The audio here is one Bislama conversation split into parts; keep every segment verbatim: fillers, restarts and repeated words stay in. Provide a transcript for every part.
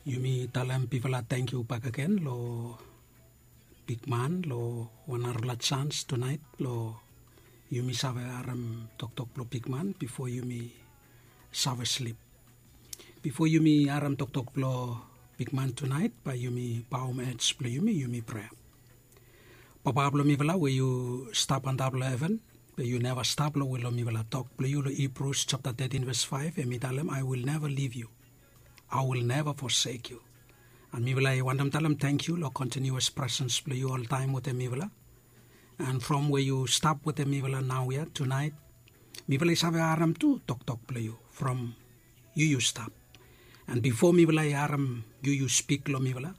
Yumi talem bifala tangkiu bakegen long bigman long wan narafala jans tunaet blong yumi save harem toktok blong bigman bifo yumi save slip. Bifo yumi harem toktok blong bigman tunaet, bae yumi baom ej blong yumi, yumi prea. Papa blong mifala we yu stap antap long heven, be yu neva stap long wil long mifala. Tok blong yu long Hibrus japta tetin ves faef, hem i talem, "I will never leave you. I will never forsake you." An mifala i wantem talem tangkiu long kontiniuas presens blong yu oltaem wetem mifala. An from we yu stap wetem mifala naoia tunaet, mifala i save harem tu toktok blong yu from yu yu stap. An bifo mifala i harem yu yu spik long mifala,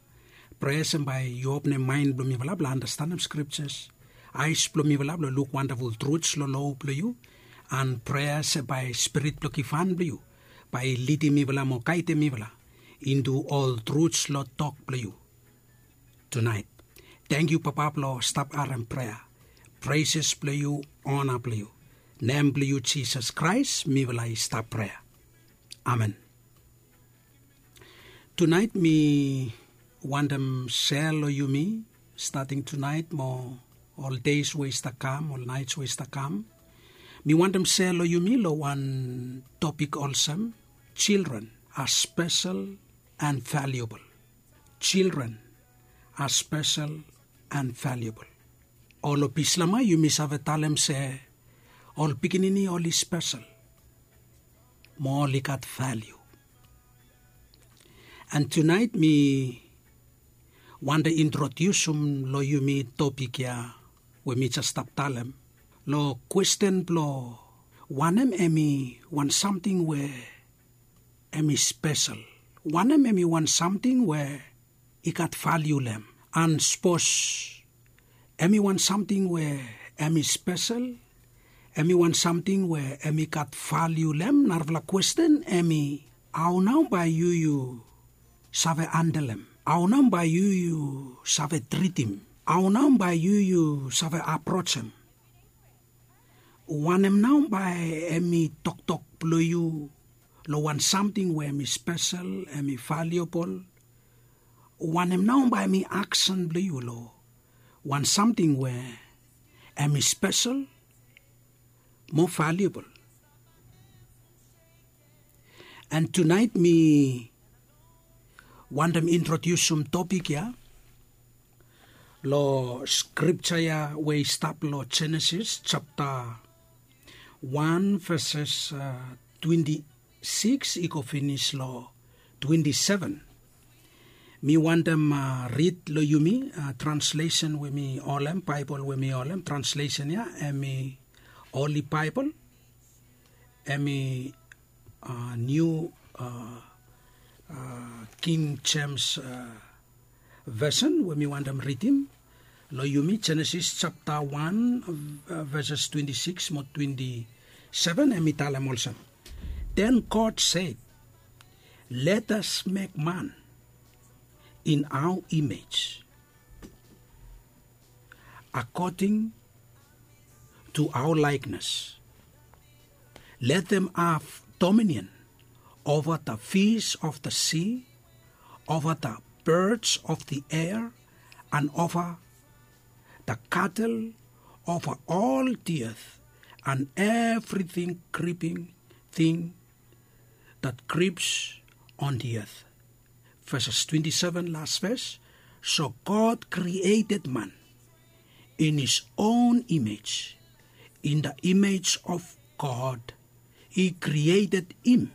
prea se bae yu openem maen blong mifala blong andastanem skriptas, aes blong mifala blong luk wandaful truts long lo blong yu, an prea se bae spirit blong givhan blong yu bae i lidim mifala mo gaedem mifala intu ol truts long tok blong yu tunaet. Tangkiu Papa blong stap harem prea. Preses blong yu, ona blong yu. Nem blong yu Jisas Kraes mifala i stap prea. Amen. Tunaet mi wantem sea long yumi, stating tunaet mo ol deis we i stap kam, ol naets we i stap kam, mi wantem sea long yumi long wan topik olsem, children are special and valuable. Children are special and valuable. Ol Bislama yumi save talem se ol pikinini oli spesel mo oli gat valiu. An tunaet mi wantem introdiusim long yumi topik ya we mi jes stap talem long kwesten blong wanem hem i wan samting we hem i spesel. Wanem hem i wan samting we i gat valiu long hem. An sapos hem i wan samting we hem i spesel, hem i wan samting we hem i gat valiu long hem, narafala kwesten hem i, hao nao bae yu yu save handlem? Hao nao bae yu yu save tritim? Hao nao bae yu yu save aprojem? Wanem nao bae hem i toktok blong yu long wan samting we hem i spesel, hem i valiabol? Wanem nao bae hem i aksen blong yu long wan samting we hem i spesel mo valiabol? An tunaet mi wantem introdiusim topik ya long skripta ya we i stap long Jenesis japta wan veses twenti sikis i go finis long twenti seven. Mi wantem rid long yumi translesen we mi holem, Baebol we mi holem, translesen ya hem i Holi Baebol, hem i Niu King Jems Vesen we mi wantem ridim long yumi, Jenesis japta wan veses twenti sikis mo twenti seven, hem i talem olsem, "Then God said, 'Let us make man in our image, according to our likeness. Let them have dominion over the fish of the sea, over the birds of the air, and over the cattle, over all the earth, and everything creeping thing that creeps on the earth.'" Verses twenty-seven, last verse. "So God created man in his own image. In the image of God, he created him,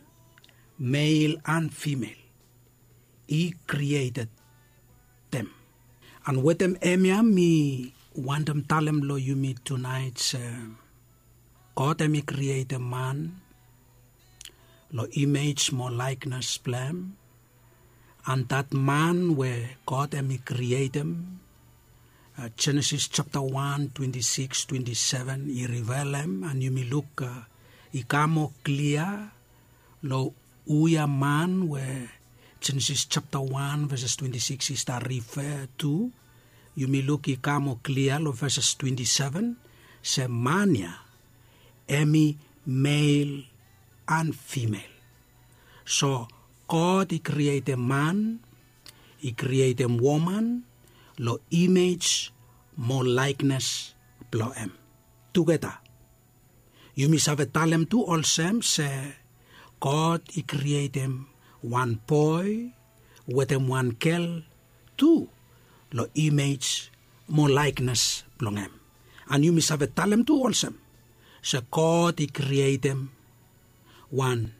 male and female. He created them." An wetem hemia mi wantem talem long yumi tunaet se God hem i krietem man long imej mo laeknes blong hem. An dat man we God hem i krietem, Jenesis japta wan twenti sikis twenti seven i rivelem, an yumi luk i kam moa klia long hu ia man we Jenesis japta wan veses twenti sikis i stap rife tu. Yumi luk i kam moa klia long veses twenti seven se man ya hem i mel an fimel. So God i krietem man, i krietem woman long imej mo laeknes blong hem. Tugeta yumi save talem tu olsem se God i krietem wan boe wetem wan gel tu long imej mo laeknes blong hem. An yumi save talem tu olsem se God i krietem wan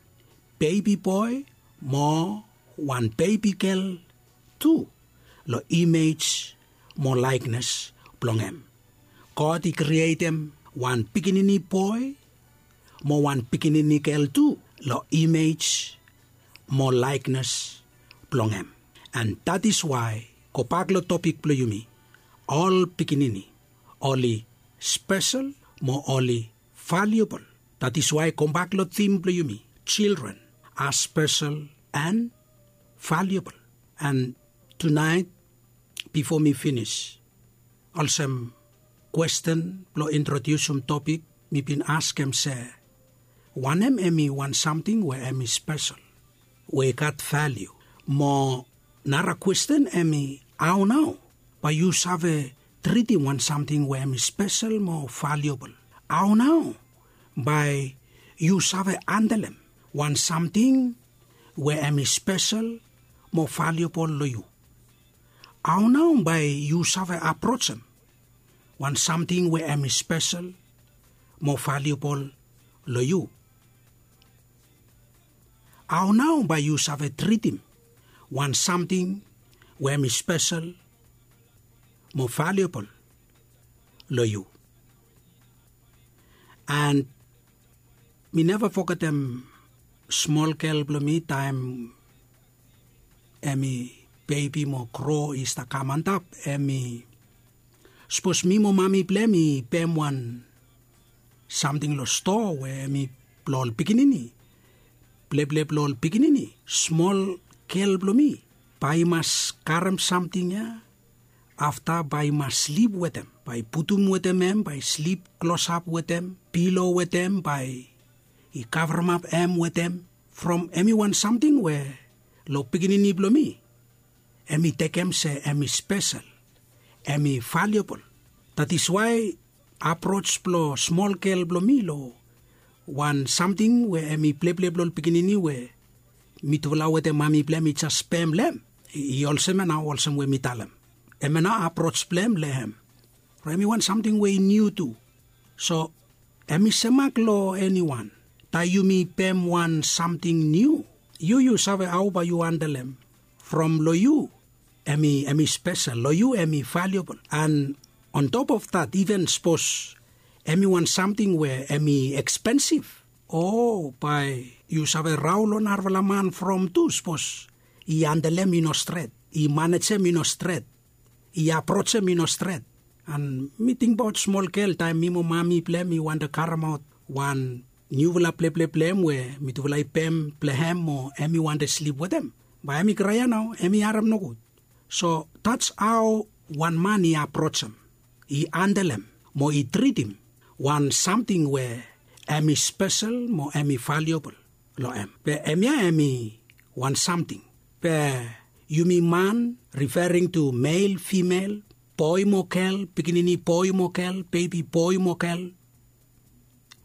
bebi boe mo wan bebi gel tu long imej mo laeknes blong hem. God i krietem wan pikinini boe mo wan pikinini gel tu long imej mo laeknes blong hem. An dat is wae gobak long topik blong yumi, ol pikinini oli spesel mo oli valiobol. Dat is wae gobak long tim blong yumi, children are special and valuable. An tunaet bifo mi finis, olsem kwesten blong introdiusim topik, mi bin askem se wanem hem i wan samting we hem i spesel, we i gat valiu? Mo nara kwesten hem i, hao nao bae yu save tritim wan samting we hem i spesel mo valiobol? Hao nao bae yu save andelem wan samting we hem i spesel mo valiobol long yu? Hao nao bae yu save aprojem wan samting we hem i spesel mo valiobol long yu? Hao nao bae yu save tritim wan samting we hem i spesel mo valiobol long yu? An mi neva fogetem smol gel blong mi taem hem i bebi mo gro i stap kam antap, hem i, sapos mi mo mami blong hem i pem wan samting long stoa we hem i blong ol pikinini, pleple blong ol pikinini, smol gel blong mi bae i mas karem samting ya, afta bae i mas slip wetem, bae i putum wetem hem, bae i slip klosap wetem, pilo wetem, bae i kavremap hem wetem, from hem i wan samting we long pikinini blong mi hem i tekem se hem i spesel, hem i valiobol. Dat is wae aproj blong smol gel blong mi long wan samting we hem i pleple blong ol pikinini we mitufala wetem mami blong hem i jes pem long hem, i olsem ya nao, olsem we mi talem. Hemia nao aproj blong hem long hem. From hem i wan samting we i niu tu. So hem i semak long eniwan. Taem yumi pem wan samting niu, yu yu save hao bae yu andelem. From long yu hem i, hem i spesel, long yu hem i valiobol. An on top of dat, iven sapos hem i wan samting we hem i ekspensif, o bae yu save rao long narafala man from tu sapos i andelem i no stret, i manejem i no stret, i aprojem i no stret. An mi tingbaot smol gel taem mi mo mami blong hem i wantem karemaot wan niufala pleple blong hem we mitufala i pem blong hem mo hem i wantem slip wetem. Bae hem i krae ya nao, hem i harem nogud. So that's how wan man i aprojem, i andelem mo i tritim wan samting we hem i spesel mo hem i valiobol long hem. Be hemia hem i wan samting. Be yumi man, referring to male, female, boe mo gel, pikinini boe mo gel, bebi boe mo gel,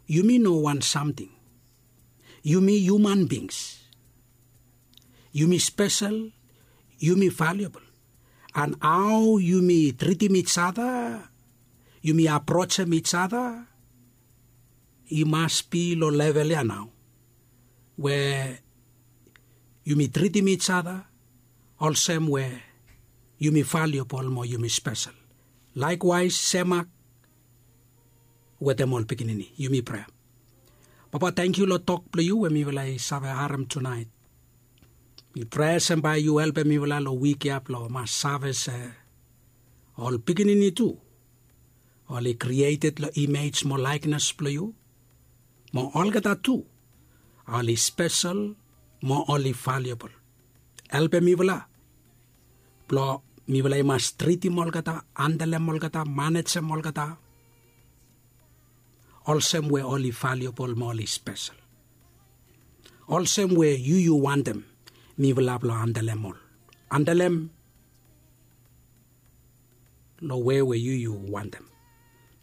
yumi no wan samting. Yumi human beings. Yumi spesel, yumi valiobol. An hao yumi tritim ijada, yumi aprojem ijada, i mas bi long level ya nao we yumi tritim ijada olsem we yumi valiobol mo yumi spesel. Laekwaes semak wetem ol pikinini. Yumi prea. Papa, tangkiu long tok blong yu we mifala i save harem tunaet. Mi prea se bae yu helpem mifala long wik ya blong mas save se ol pikinini tu oli krieted long imej mo laeknes blong yu, mo olgeta tu oli spesel mo oli valiobol. Helpem mifala blong mifala i mas tritim olgeta, andelem olgeta, manejem olgeta olsem we oli valiobol mo oli spesel. Olsem we yu yu wantem Mifala blong andalem ol andalem long we we yu yu wantem.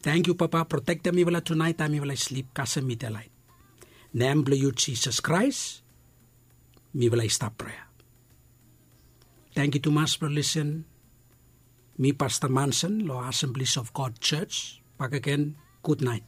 Tangkiu papa, protektem mifala tunaet taem mifala i slip kasem midelaet. Nem blong yu Jisas Kraes mifala i stap prea. Tangkiu tumas blong lisen. Mi Pasta Manson long Assemblies of God Church bakegen. Gudnaet.